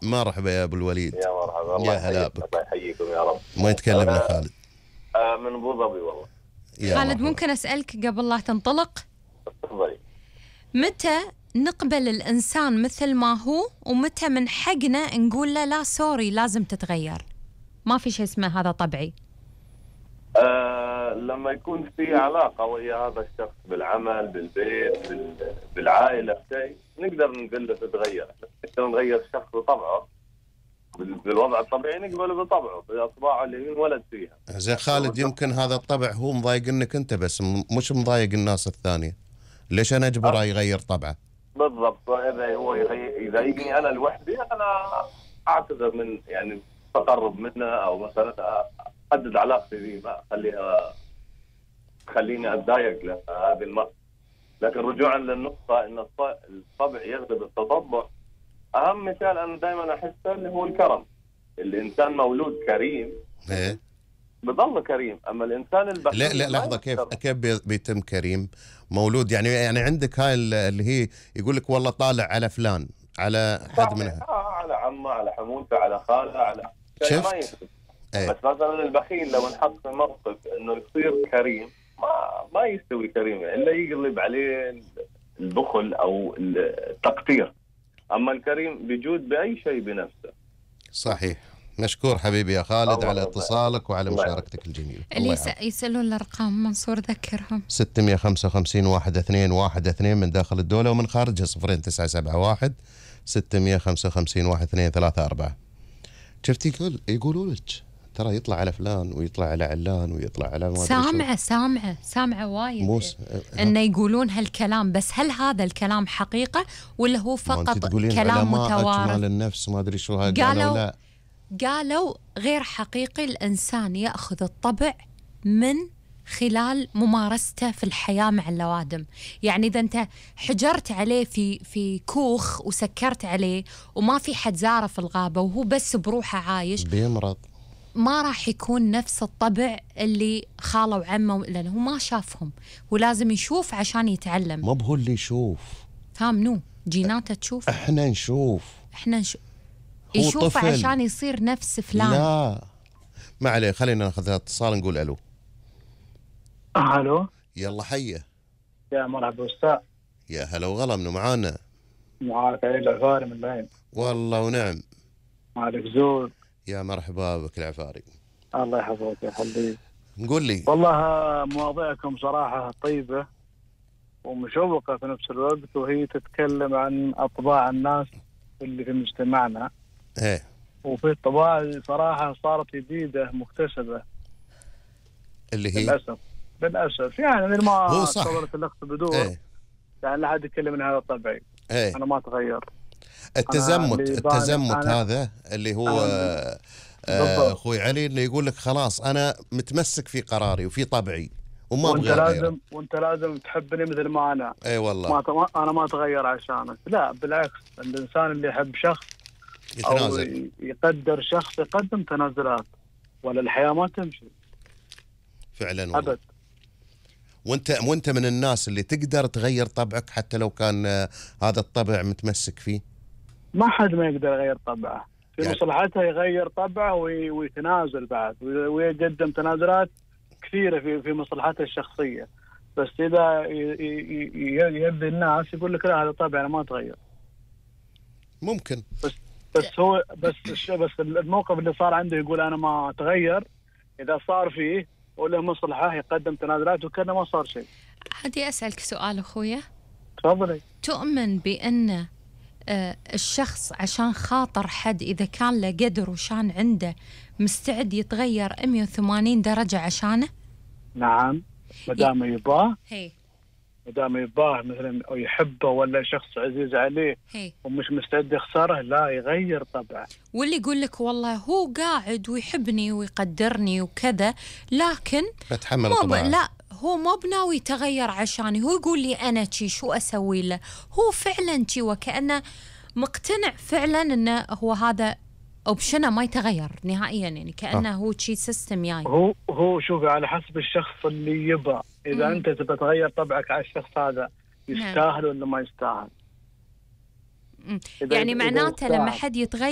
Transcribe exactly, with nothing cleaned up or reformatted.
مرحبا يا ابو الوليد. يا مرحبا، الله يا هلا بك. الله يحييكم يا رب. ما يتكلمنا خالد؟ آه من ابو ظبي والله. خالد مرحبا. ممكن اسالك قبل لا تنطلق؟ تفضلي. متى نقبل الانسان مثل ما هو، ومتى من حقنا نقول له لا سوري لازم تتغير؟ ما في شيء اسمه هذا طبيعي. آه لما يكون في علاقه ويا هذا الشخص بالعمل بالبيت بال... بالعائله شيء، نقدر نقول له تتغير. نقدر نغير الشخص بطبعه بالوضع الطبيعي، نقبله بطبعه باطباعه اللي انولد فيها. زين خالد، يمكن هذا الطبع هو مضايقنك انت بس، مش مضايق الناس الثانيه. ليش انا اجبره يغير طبعه؟ بالضبط. اذا هو يضايقني انا لوحدي، انا اعتذر من يعني تقرب منه، او مثلا احدد علاقتي به، ما اخليها تخليني اتضايق له هذه المرة. لكن رجوعا للنقطه ان الطبع يغلب التطبع، اهم مثال انا دائما احسه اللي هو الكرم. الانسان مولود كريم ايه بضل كريم، اما الانسان البخيل لا لا لحظه، كيف كيف بيتم كريم مولود؟ يعني يعني عندك هاي اللي هي يقول لك والله طالع على فلان، على حد منها، آه على عمه، على حموته، على خاله، على شفت؟ ايه. بس مثلا البخيل لو انحط في موقف انه يصير كريم، ما ما يستوي كريم الا يقلب عليه البخل او التقتير. اما الكريم بيجود باي شيء بنفسه. صحيح. مشكور حبيبي يا خالد على اتصالك وعلى مشاركتك الجميلة. اللي يسألون الأرقام منصور ذكرهم. ستمية وخمسة وخمسين واحد اثنين واحد اثنين من داخل الدولة، ومن خارجها صفرين تسعة سبعة واحد ستمية وخمسة وخمسين واحد اثنين ثلاثة أربعة. شفتي يقول يقولوا لك ترى يطلع على فلان ويطلع على علان ويطلع على ما سامعة سامعة سامعة وايد موس... إنه يقولون هالكلام، بس هل هذا الكلام حقيقة ولا هو فقط كلام متوارث؟ أجمال النفس ما أدري شو هاي قالوا, قالوا لا قالوا غير حقيقي. الإنسان يأخذ الطبع من خلال ممارسته في الحياة مع اللوادم. يعني إذا أنت حجرت عليه في في كوخ وسكرت عليه وما في حد زاره في الغابة وهو بس بروحه عايش، بيمرض، ما راح يكون نفس الطبع اللي خاله وعمه، لأنه هو ما شافهم ولازم يشوف عشان يتعلم. ما بهو اللي يشوف، فاهمنو؟ جيناته تشوف، احنا نشوف، احنا نشوف يشوف عشان يصير نفس فلان. لا ما عليه، خلينا ناخذ اتصال نقول الو. الو يلا حيه. يا مرحبا استاذ. يا هلا وغلا، منو معانا؟ معاك عيل العفاري من العين. والله ونعم. معك زول. يا مرحبا بك العفاري. الله يحفظك يا حبيبي. نقول لي. والله مواضيعكم صراحة طيبة ومشوقة في نفس الوقت، وهي تتكلم عن أطباع الناس اللي في مجتمعنا. ايه. وفي طباع صراحة صارت جديدة مكتسبة. اللي هي؟ للأسف للأسف يعني مثل ما صورت الأخت بدور. ايه. يعني لا حد يتكلم من هذا طبعي. ايه. أنا ما تغير. التزمت التزمت هذا اللي هو آه اخوي علي، اللي يقول لك خلاص انا متمسك في قراري وفي طبعي وما ابغى وانت لازم وانت لازم تحبني مثل ما انا. اي أيوة والله. ما ت... انا ما اتغير عشانك، لا بالعكس. الانسان اللي يحب شخص يتنازل او يقدر شخص يقدم تنازلات، ولا الحياه ما تمشي فعلا والله. ابد. وانت وانت من الناس اللي تقدر تغير طبعك حتى لو كان هذا الطبع متمسك فيه. ما حد ما يقدر يغير طبعه، في يعني مصلحته يغير طبعه وي... ويتنازل بعد، ويقدم تنازلات كثيره في في مصلحته الشخصيه. بس اذا يبدي الناس يقول لك لا هذا طبعي انا ما اتغير. ممكن. بس بس هو بس بس الموقف اللي صار عنده يقول انا ما اتغير، اذا صار فيه وله مصلحه يقدم تنازلات وكذا ما صار شيء. عادي اسالك سؤال اخويا؟ تفضلي. تؤمن بان آه الشخص عشان خاطر حد اذا كان له قدر وشان عنده مستعد يتغير مية وثمانين درجه عشانه؟ نعم، ما دام يباه. هي ما دام يباه مثلا او يحبه ولا شخص عزيز عليه هي. ومش مستعد يخسره، لا يغير طبعه. واللي يقول لك والله هو قاعد ويحبني ويقدرني وكذا، لكن بتحمل مو طبعه. لا هو مو بناوي يتغير عشاني، هو يقول لي انا شي شو اسوي له، هو فعلا شي وكأنه مقتنع فعلا انه هو هذا اوبشنه ما يتغير نهائيا، يعني كأنه آه. هو شي سيستم جاي. يعني. هو هو شوفي على حسب الشخص اللي يبى، اذا مم. انت تبى تغير طبعك على الشخص هذا يستاهل ولا ما يستاهل. يعني معناته لما حد يتغير